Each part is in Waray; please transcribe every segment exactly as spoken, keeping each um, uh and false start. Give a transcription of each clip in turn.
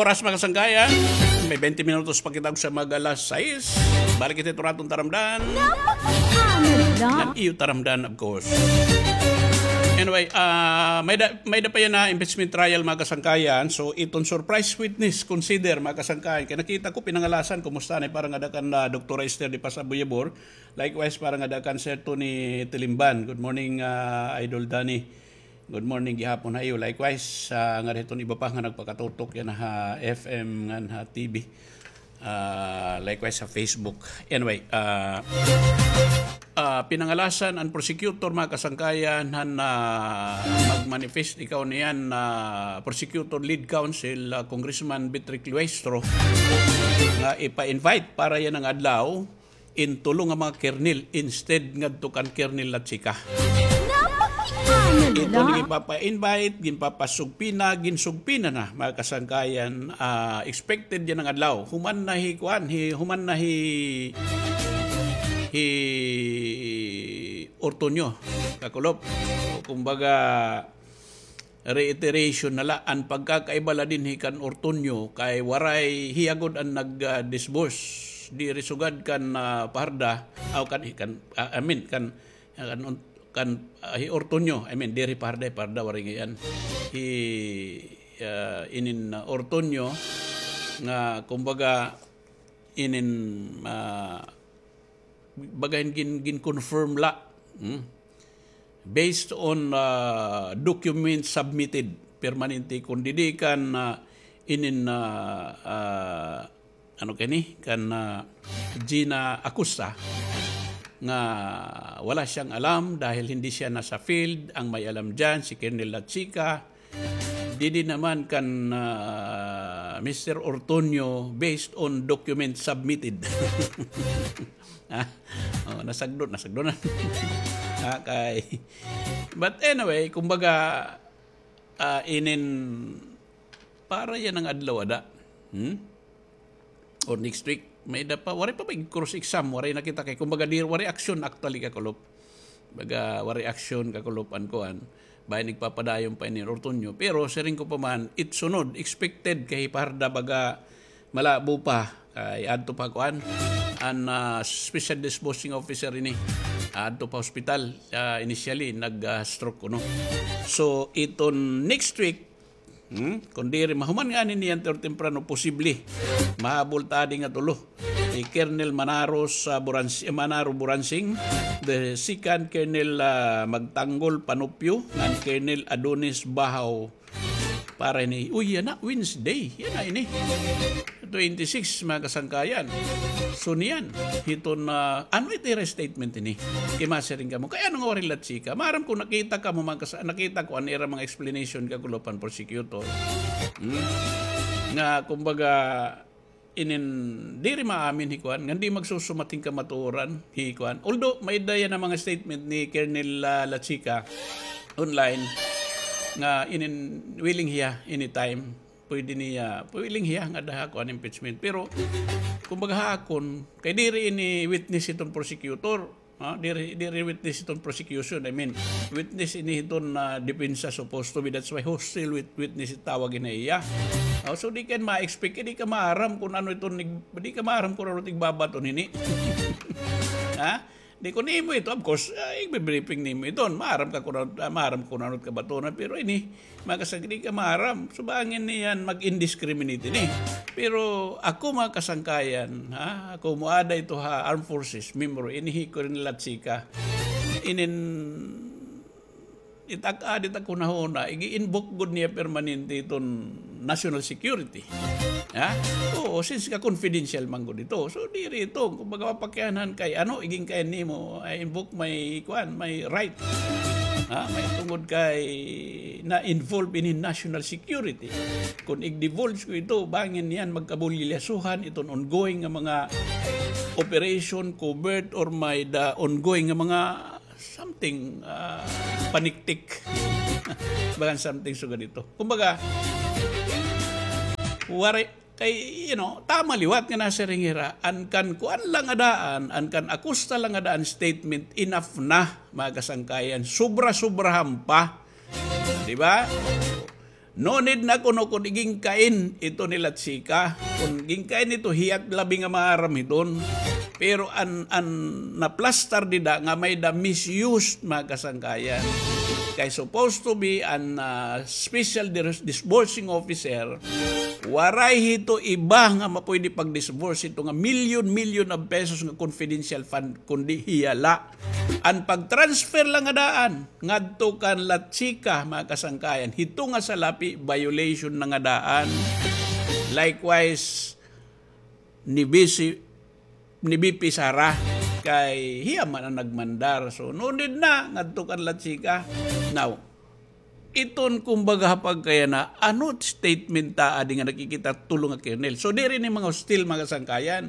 Oras, mga kasangkayan, may twenty minutos pa kita sa mag-alas sais. Balik kita ito raton taramdan. An iyo taramdan, of course. Anyway, ah, may da, may da pa yana impeachment trial, mga kasangkayan. So, iton surprise witness, consider, mga kasangkayan. Kay nakita ko, pinangalasan, kumusta na, para ngada kan, ah, Doktora Esther de Paz Abuyabor. Likewise, para ngada kan Sir Tony Tilimban. Good morning, ah, Idol Danny. Good morning gihapon ha iyo. Likewise, ah, ngada hiton iba pa nga nagpakatutok yana ha F M ngan ha T V. Ah, likewise ha Facebook. Anyway, ah, ah, pinangalasan an prosecutor, mga kasangkayan, han, ah, mag-manifest ikaw niyan, ah, prosecutor lead counsel, ah, Congressman Beatriz Cleistro, nga ipa-invite para yana nga adlaw in tulo nga mga kernel instead ngadto kan Kernel Lachica. Ito na, ginpapa-invite, ginpapasugpina, ginsugpina na, mga kasangkayan, ah, expected yana nga adlaw. Human na hi kuan, hi, human na hi, hi Ortonio, kakulop. O, kumbaga, reiteration na la, an pagkakaiba la dinhi kan Ortonio kay waray hiya gud an nag, ah, disburse diri sugad kan, ah, Fajarda, aw, kan, kan, ah, I mean, kan, kan, kan, ah, hi Ortonio, I mean, diri Fajarda, Fajarda waray ngay-an. Hi, ah, inin, ah, Ortonio nga, kumbaga, inin, ah, baga hin gin, gin-confirm la. Hmm? Based on, ah, documents submitted, permanente kon didi kan, ah, inin, ah, ah, ano kani, kan, ah, Gina Acosta, nga wala siyang alam dahil hindi siya nasa field. Ang may alam diyan, si Colonel Lachica, Didi naman kan, ah, Mister Ortonio, based on document submitted. Ah, oh, nasagdon, nasagdon na. Ah, kay, but anyway, kumbaga, ah, inin, para yana nga adlaw ada. Hmm? Or next week, may-ada pa, waray pa ba cross exam, waray nakita kay, kumbaga, di, waray aksyon actually, kakulop. Baga, waray aksyon, kakulop, an kuan. Bahin igpapadayon pa ini Ortonio. Pero, siring ko pa man, it sunod, expected kay Fajarda, baga, malabo pa, kay adto pa kuan, an, ah, special disposing officer ini. Adto pa hospital, ah, initially, nag, ah, stroke kuno. So, iton next week, Hmm? Kon diri mahuman ngani niyan or temprano, posible mahabol ta adi nga tulo. Hi Colonel Manaro sa Burans-, Manaro Buransing, the second Colonel, ah, Magtanggol Panupio, ngan Colonel Adonis Bahaw para ini. Uy, yana, Wednesday. Yana ini. Twenty-six, mga kasangkayan. So, niyan, hiton, ah, ano ito ira statement ini? Kay masiring kamo. Kay ano nga waray Lachica? Maaram ko nakita kamo, mga kas-, nakita ko an ira mga explanation, kakulop, an prosecutor. Hmm? Nga, kumbaga, inin, diri maamin hi kuan, nga di magsusumat hin kamatuoran, hi kuan. Although, may-ada yana mga statement ni Colonel, ah, Lachica online, nga inin willing hiya anytime. Pwede niya, willing hiya nga daha kuan impeachment. Pero, kumbaga ha akon, kay diri ini witness hiton prosecutor, ha? Diri, diri witness hiton prosecution. I mean, witness ini hiton, ah, depensa supposed to be. That's why hostile wit-, witness it tawag ini iya. Oh, so di ka ma-expect, di ka maaram kon ano iton ig-, di ka maaram kon ano it igbabaton hini. Ha? Di kon imo ito, of course, ah, igbe-briefing nimo iton. Maaram ka kon ano, ah, maaram kon ano it kabatonan, pero ini, mga kasangkayan, di ka maaram. So, bangin niyan mag-indiscriminate ini. Pero ako, mga kasangkayan, ha, ako moada ito ha Armed Forces, member, ini hi Colonel Lachica. Inin, It ak-, ah, it ak hunahuna, ig-i-invoke gud niya permanente iton national security. Ha? Oo, since ka confidential man gud ito. So, diri ito, kumbaga, mapakianhan kay, ano, igin kay nimo, I invoke my, kuan, my right. Ha? May tungod kay na-involve ini national security. Kung ig-divulge ko ito, bangin niyan magkabulilyasuhan iton ongoing nga mga operation, covert, or may-ada ongoing nga mga something, ah, paniktik. Bagan something sugad ito. Kumbaga, waray, kay, you know, tama liwat nga nasiring hira, an kan kuan la nga daan, an kan Acosta la nga daan statement, enough na, mga kasangkayan. Sobra-sobrahan pa. Di ba? No need na kuno kon igingkain ito ni Lachica. Kon gingkain ito, hiya it labi nga maaram hiton. Pero an, an naplastar dida nga may-ada misused, mga kasangkayan. Kay supposed to be an, ah, special dis-, disbursing officer, waray hito iba nga mapwede pag-disburse hito nga million-million of pesos nga confidential fund, kundi hiya la. An pag-transfer la nga daan ngadto kan Lachica, mga kasangkayan, hito nga salapi, violation na nga daan. Likewise, ni V C, ni V P Sara, kay hiya man an nagmandar. So, no need na ngadto kan Lachica. Now, iton kumbaga ha pagkayana, ano it statement ta adi nga nakikita tulo nga kernel? So, diri ini mga hostil, mga kasangkayan.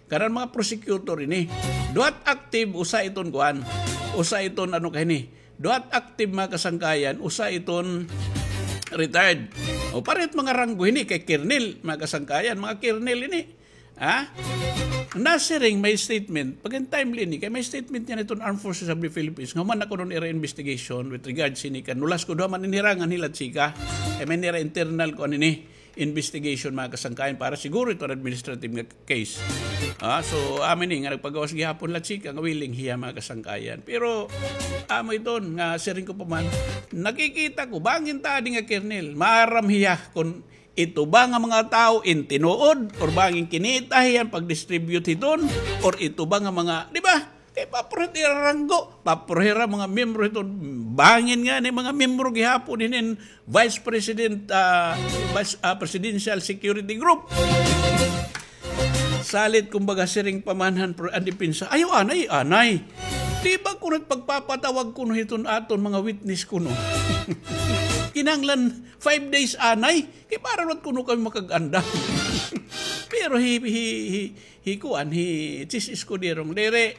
Kanan mga prosecutor ini. Duhat active, usa iton kuan. Usa iton ano kay ini. Duhat active, mga kasangkayan, usa iton retired. O, parehit mga ranggo ini kay kernel, mga kasangkayan, mga kernel ini. Ha? Nasiring may statement, pag-an timely ini, kay may statement niyan iton Armed Forces of the Philippines. Nga human na kuno an ira investigation with regards ini kan Nolasco, duha man ini hira ngan hi Lachica. Kay may-ada hira internal kuan ini, investigation, mga kasangkayan, para siguro iton administrative nga case. Ah, so, amo ini nga nagpagawas gihapon Lachica nga willing hiya, mga kasangkayan. Pero, amo iton nga siring ko pa man, nakikita ko, bangin ta adi nga kernel, maaram hiya kon ito ba nga mga tawo in tinuod, or bangin kinita hiya an pag-distribute hiton, or ito ba nga mga, di ba? Kay paprihi ira ranggo, paprihi ira mga miyembro hiton, bangin ngani mga miyembro gihapon hinin Vice President, ah, Vice, ah, Presidential Security Group. Salit, kumbaga, siring pa man han pro-, an depensa, "Ayaw anay, anay. Di ba kuno it pagpapatawag kuno hiton aton mga witness kuno, kinahanglan five days anay? Kay para liwat kuno kami makag-andam." Pero hi, hi, hi, hi kuan, hi Chiz Escudero nga, "Diri."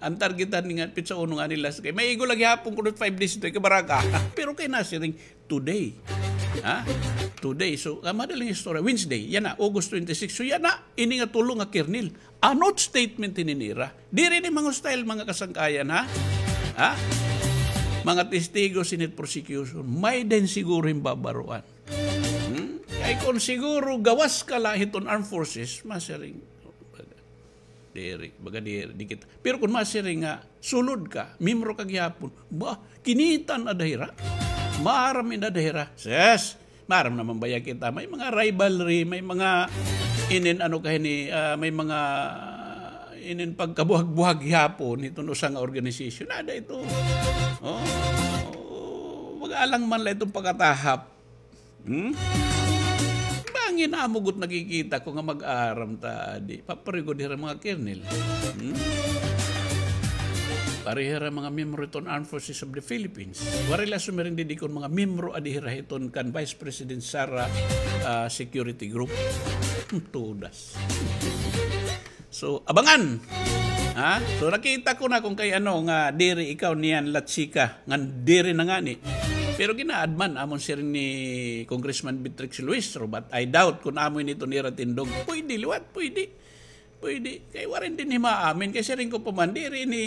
An target han ini nga petsa uno ngani last kay maigo la gihapon kuno it five days ito, ikabaraka. Pero kay nasiring, today. Ha? Today. So, ah, madaling istorya. Wednesday. Yana, August twenty-six. So, yana, ini nga tulo nga kernel. Ano it statement hini nira? Diri ini mga hostile, mga kasangkayan, ha? Ha? Mga testigo, Senate prosecution. May-ada hin siguro hin babaroan. Hmm? Kay kon siguro gawas ka la hiton armed forces, masiring. Diri, baga diri, di kita. Pero kon masiring nga, sulod ka, miyembro ka gihapon, ba, kinita na ada hira. Maaram na ada hira. Ses, maaram naman baya kita. May mga rivalry, may mga inin ano kay ini, ah, may mga inin pagkabuhag-buhag gihapon hiton usa nga organisasyon. Ada ito. Oh, oh, mag-alang man la iton pakatahap. Hmm? Bangin amo gud nakikita ko nga mag-aram ta adi. Paprihi gud hira mga kernel. Hmm? Pareho hira mga miyembro hiton Armed Forces of the Philippines. Waray la sumiring didi kon mga miyembro adi hira hiton kan Vice President Sara, ah, security group. Hmm, tudas. So, abangan. Ha? So, nakita ko na kon kay ano nga diri ikaw niyan Lachica, ngan diri na ngani. Pero ginaadman, amon siring ni Congressman Beatrix Luistro, but I doubt kon amo ini iton ira tindog. Pwede liwat, pwede. Pwede. Kay waray dinhi maamin. Kay siring ko pa man, diri ini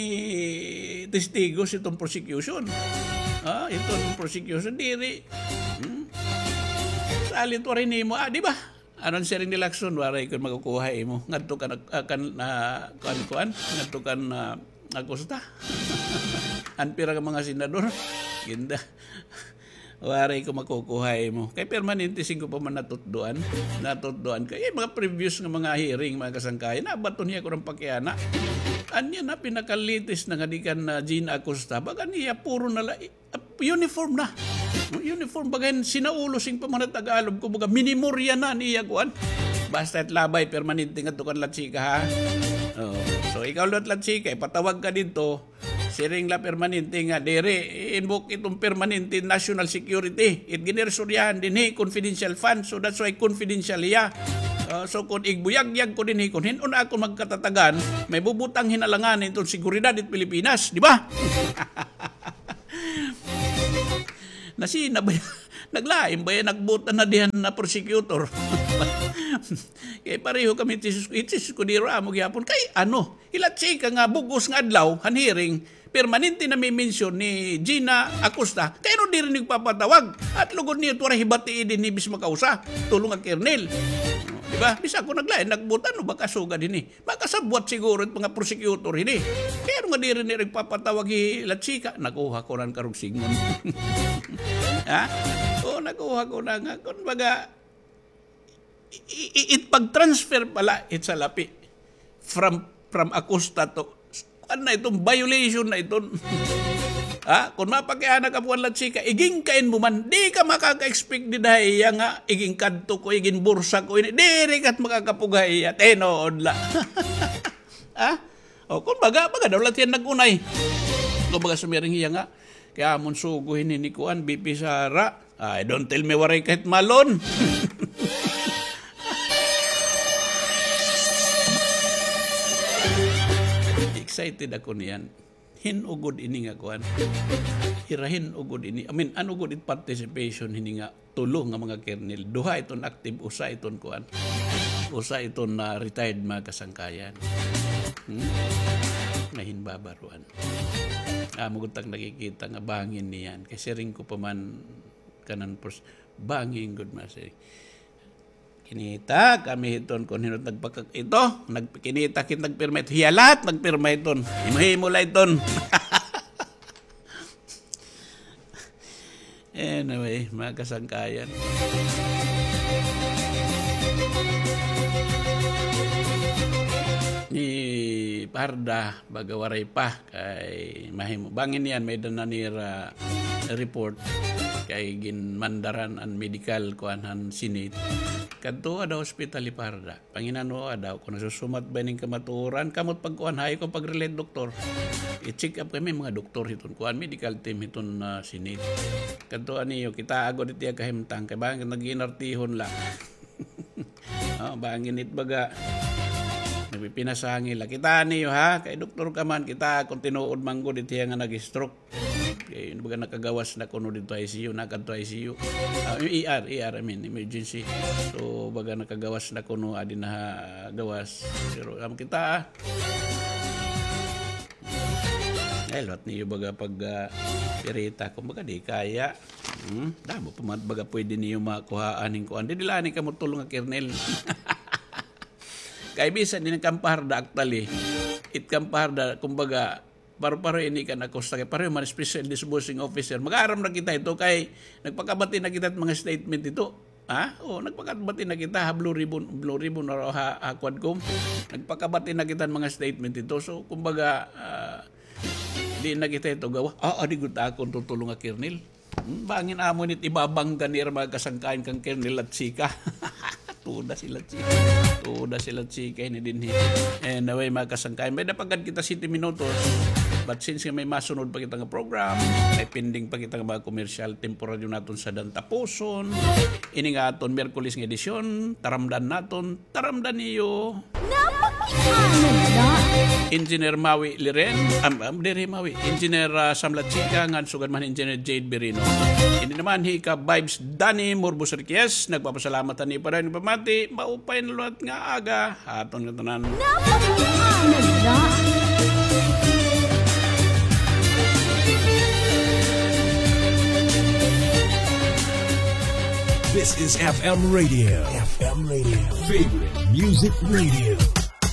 testigo hiton prosecution. Ha? Hiton prosecution, diri. Hmm? Salit waray nimo, ah, di ba? Ano an siring ni Lacson, waray ko makukuha imo. Ngadto kan, ah, kan, ah, kuan, kuan, ngadto kan, ah, Acosta. An pira ka mga senador. Ginda. Waray ko makukuha imo. Kay permanente siring ko pa man natutdoan. Natutdoan ko. Eh, mga previous nga mga hearing, mga kasangkayan, nabaton hiya ko ng pakiana. Anya na pinaka-latest na nga di kan, ah, Gina Acosta. Baga niya, puro na la-, uniform na. Uniform, baga hin sinaulo siring pa man ha Tagalog, kumbaga, minimorya na niya, kuan. Basta it labay, permanente ngadto kan Lachica, ha? Oh. So, ikaw liwat Lachica, ipatawag ka didto, siring la permanente nga, diri, invoke iton permanente national security. It giniristoryahan dinhi, confidential fund, so that's why confidential hiya. Ah, so, kon igbuyagyag ko dinhi, kon hin-o na ako magkatatagan, may bubutang hin alangan iton seguridad it Pilipinas, di ba? Nasina ba yan? Naglain ba yan? Nagbuta na diyan na prosecutor. Kay pareho kami, Jesus, Jesus ko, diri amo gihapon. Kay ano, hi Lachica nga bug-os nga adlaw, han hearing, permanente na mi-mention ni Gina Acosta, kay ano diri nagpapatawag? At lugod niyo, waray hibati dinhi bis makausa. Tulo nga kernel. Di ba? Bis ako naglain, nagbuot, ano ba kasugad hini? Makasabwat siguro it mga prosecutor hini. Kay ano nga diri nira nagpapatawag hi La Chica? Nakuha ko na an karugsingon. Ha? O, nakuha ko na nga. Kumbaga, i-, i-, it pag-transfer pala, it salapi. From, from Acosta to, kuan na iton, violation na iton. Ha? Kung mapakiana ka, kuan, La Chica, igin kain mo man, di ka makaka-expect dida ha iya nga, igin kadto ko, igin bursa ko, ini, diri ka makakapuga ha iya, tinuod la. Ha? O, kumbaga, baga daw la hiya nag-unay. Kumbaga, sumiring hiya nga, kay amon sugo hini ni kuan, V P Sara. Ay, don't tell me waray kahit malon. Excited ako niyan. Hin-o gud ini nga kuan. Hira hin-o gud ini. I mean, ano gud it participation hini nga tulo nga mga kernel. Duha iton active, usa iton kuan. Usa iton na retired, mga kasangkayan. Hmm? Nga hin babaruan. Amo gud tak nakikita nga bangin niyan. Kay siring ko pa man kanan pers-, bangin gud masiring. Kinita kami hiton kon hin-o nagpaka-, ito, nag-, kinita kit nagpirma ito. Hiya lahat nagpirma iton. Himo-himo la iton. Anyway, mga kasangkayan. Ni Parda, baga waray pa, kay mahimo. Bangin niyan, may-ada na nira report kay ginmandaran an medical kuan han Senate. Kadto ada hospital hi Parda. Panginanoa daw, kon nasusumat ba ining kamatuoran, kamot pagkuan, hayo ko pag-relate doktor. I-check up kami mga doktor hiton, kuan, medical team hiton, ah, Senate. Kadto aniyo, kita agod iti kahimtang, kay bangin nag-iinartihon la. O, bangin it baga. Nagpipinasangil la. Kita niyo, ha? Kay doktor ka man, kita kon tinuod man gud iti nga nag-stroke. Kay baga nakagawas na kuno didto I C U, nakadto I C U. Ah, E R, E R, I mean, emergency. So, baga nakagawas na kuno, adi na ha gawas. Pero, amo kita, ah. Ay, liwat niyo baga pag, ah, pirita, kumbaga, di kaya. Hmm? Damo pa man baga pwede niyo makuhaan hin kuan. Di, dila ni kamo tulo nga kernel. Kay bisan ini kan Parda, actually. It kan Parda, kumbaga, paro-paro ini kan Acosta, kay pareho man special dishbursing officer. Mag-aaram na kita ito kay nagpakabati na kita mga statement ito. Ha? O, nagpakabati na kita ha Blue Ribbon, Blue Ribbon or ha, ha Quadcom. Nagpakabati na kita mga statement ito. So, kumbaga, ah, di na kita ito gawa. Ah, adi gud akon tutulo nga kernel. Hmm, bangin amo nit ibabangga nira mga kasangkayan kan Kernel Latsika. Tuda si Latsika. Tuda si Latsika ini dinhi. Anyway, mga kasangkayan, may-ada pa gad kita siyete minutos. But since nga may masunod pa kita nga program, may pending pa kita nga mga komersyal, temporaryo naton sadan tapuson. Ini nga aton Miyerkules nga edisyon, taramdan naton, taramdan niyo. Napakianod na. Engineer Maui Liren, am, am, diri Maui, Engineer, ah, Sam Latsika, ngan sugad man Engineer Jade Birino. Ini naman hi ka Vibes Danny Morbos Riquez, nagpapasalamat han iyo padayon nga pamati, maupay na liwat nga aga, ha aton ngatanan. Napakianod na. This is F M Radio. F M Radio. Favorite Music Radio.